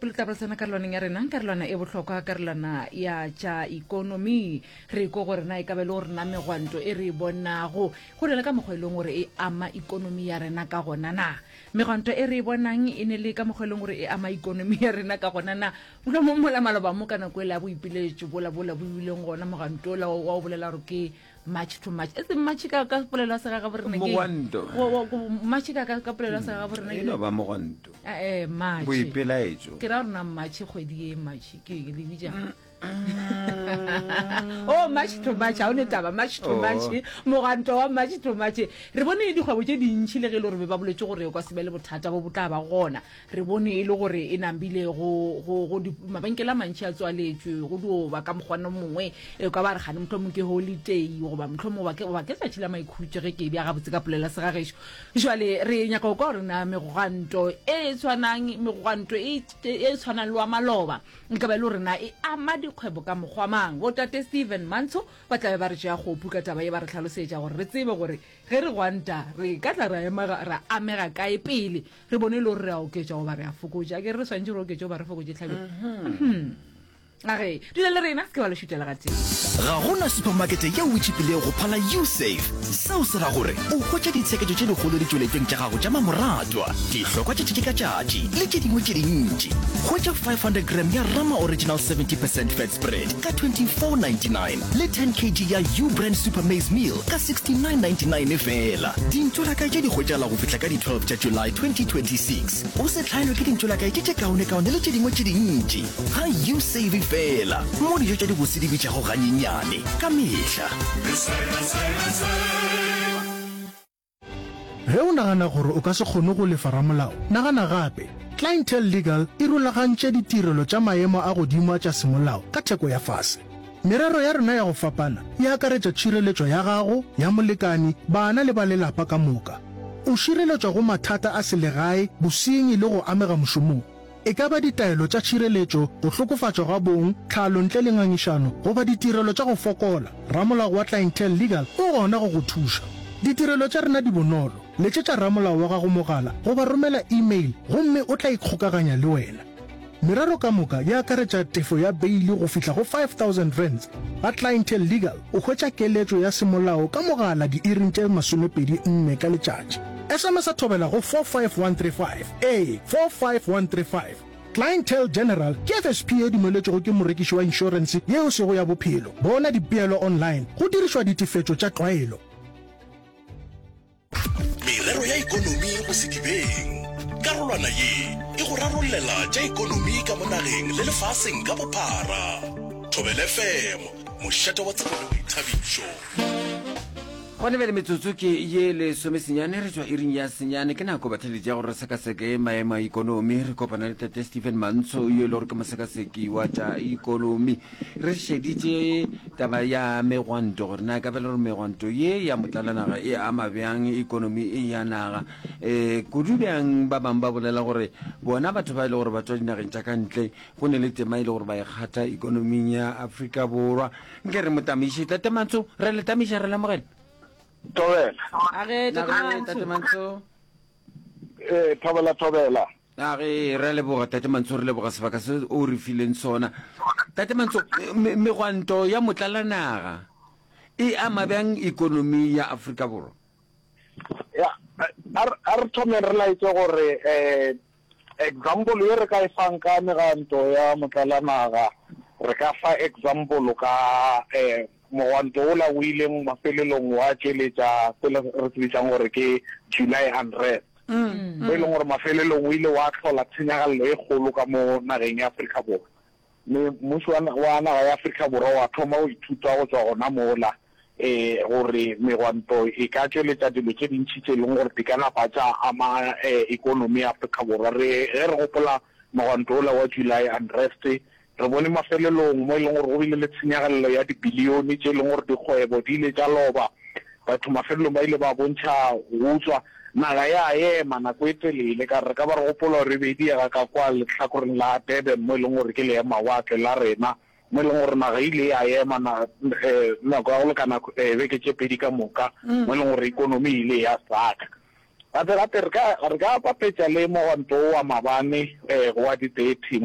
Pele tla bolesana karolwaneng ya rena, karolwana e bohlokwa, karolwana ya tša ikonomi. Re ko gore na e ka ba e le gore na megwanto e re e bonago go na le ka mokgwa e leng gore e ama ikonomi ya rena ka gona na. Megwanto e re e bonang e ne le ka mokgwa e leng gore e ama ikonomi ya rena ka gona na. Mohlomong mola maloba mo ka nako e la boipiletšo bola bola bo ileng gona mogwanto ola wa o bolela gore ke March to March. E seng March ka ka polelo ya segagabo rena ke Mogwanto. Go- go- go- March ka ka ka polelo ya segagabo rena E ke no ba mogwanto. Eh, eh, March. Boipelaetšo. Ke ra gore na March kgwedi ye March ke le bitša. Oh, March to March, ha o ne taba March to Oh. March, mogwanto wa March to March. Re bone dikgwebo tše dintši le ge e le gore be ba boletše gore o ka se be le bothata bo bo tla ba gona. Re bone e le gore e nambile go, go, go di, mabenkele a mantši a tswaletšwe, go dio ba ka mokgwana o mongwe, e ka ba re gane mohlomong ke holiday, goba mohlomong goba ke, goba ke tšatši la maikhutšo ge ke e bea gabotse ka polelo ya segagešo. Jwale re nyaka go kwa gore na megwanto e tshwanang, megwanto e, e tshwanang le wa maloba, nka ba e le gore na e ama dikgwebo ka mokgwa mang. Bo Tate Stephen Mantsho ba tla be ba re tšea kgopu ka taba ye, ba re hlalosetša gore re tsebe gore ge re gwanta re ka tla ra ema, ra amega kae pele Re bone e le gore re a oketša goba re a fokotša. Akere re swanetše re oketše goba re fokotše tlhabelo? Mhm. A ge, dula le rena, se ke wa le šutela gatee. Ga go na supamakete yeo e tšhipilego go phala Usave. Seo se ra gore o hwetša ditsheketšo tše dikgolo ditšweletšong tša gago tša mamoratwa, dihlokwa tša tšatši ka tšatši le tše dingwe tše dintši. Hwetša 500 gram ya Rama Original 70 percent fat spread ka 24.99 le 10 kg ya U-Brand Super Maize Meal ka 69.99 feela. Dintšolakae tše di hwetšagala go fihla ka di 12 tša July 2026. O se hlaelwe ke dintšolakae tše tše kaonekaone le tše dingwe tše dintši ga U-Save feela, mo dijo tša dibose di bitšago ganyenyane ka mehla. Ge o nagana gore o ka se kgone go lefa ramolao, nagana gape. Clientele Legal e rulagantše ditirelo tša maemo a godimo a tša semolao ka theko ya fase. Merero ya rena ya go fapana e akaretša tšhireletšo ya gago, ya molekani, bana le ba lelapa ka moka. O šireletšwa go mathata a selegae, bosenyi le go amega mošomong. E ka ba ditaelo tša tšhireletšo, go hlokofatšwa ga bong, tlhalo ntle le ngangišano, goba ditirelo tša go fokola, ramolao wa Clientele Legal o gona go go thuša. Ditirelo tša rena di bonolo. Letšetša ramolao wa gago mogala goba romela e-mail gomme o tla ikgokaganya le wena. Merero ka moka e akaretša tefo ya beili go fihla go R5000. Ga Clientele Legal o hwetša keletšo ya semolao ka mogala diiring tše 24 ka letšatši. SMS-a thobela go 45135. Ee, 45135. Clientele General ke FSP ye dumeletšwego ke morekiši wa inšorense ye e sego ya bophelo. Bona dipeelo online go dirišwa ditefetšo tša tlwaelo. Merero ya ekonomi go sedibeng. Karolwana ye e go rarollela tša ekonomi ka mo nageng le lefaseng ka bophara. Thobela FM, mošate wa tsebo le boithabišo. Gona bjale metsotso ke ye lesomesenyane re tšwa iring ya senyane. Ke nako batheeletši ya gore re sekaseke maemo a ikonomi. Re kopana le Tate Stephen Mantsho yo e le gore ke mosekaseki wa tša ikonomi. Re šeditše taba ya megwanto gore na e ka ba le gore megwanto ye ya motlalanaga e ama bjang ikonomi ya naga. Um kudu bjang ba bangwe ba bolela gore bona batho ba e le gore ba tšwa dinageng tša ka ntle go ne le tema e le gore ba e kgatha ikonoming ya Afrika Borwa. Nke re mo tamiše. Tate Mantsho, re le tamiša, re lemogela. Thobela. A ge, Tate Nage, Tate Mantsho. Mantsho. Ee, thobela, thobela. A ge, re a leboga, Tate Mantsho, re leboga sebaka se o re fileng sona. Tate Mantsho, me- megwanto ya motlalanaga e ama bjang ikonomi ya Afrika Borwa? Ya, a re a re thomeng re laetše gore eh example ye re ka e fang ka meganto ya motlalanaga, re ka fa example ka eh mogwanto wola o ileng mafelelong wa tšweletša se le re se bitsang gore ke July unrest, mo e leng gore mafelelong o ile wa hlola tshenyagalelo e kgolo ka mo nageng ya Afrika Borwa. Mme mmušo wa wa naga ya Afrika Borwa wa thoma go ithuta go tšwa gona mola e gore megwanto e ka tšweletša dilo tše dintši tše e leng gore di ka napa tša ama ekonomi ya Afrika Borwa. Re ge re gopola mogwanto wola wa July unrest, re bone mafelelong mo e leng gore go bile le tshenyagalelo ya dibilione tše e leng gore dikgwebo di ile tša loba, batho mafelelong ba ile ba bontšha go utswa. Naga ya ema nako e telele, ka re re ka ba re gopola gore e be e diega ka kwa lehlakoreng la Durban mo e leng gore ke leemawatle la rena. Mo e leng gore naga e ile ya ema na, nako ya go lekana beke tše pedi ka moka, mo e leng gore ikonomi e ile ya saka. Gape gape re ka, re ka bapetša le mogwanto wo wa mabane wa di-thirty mo.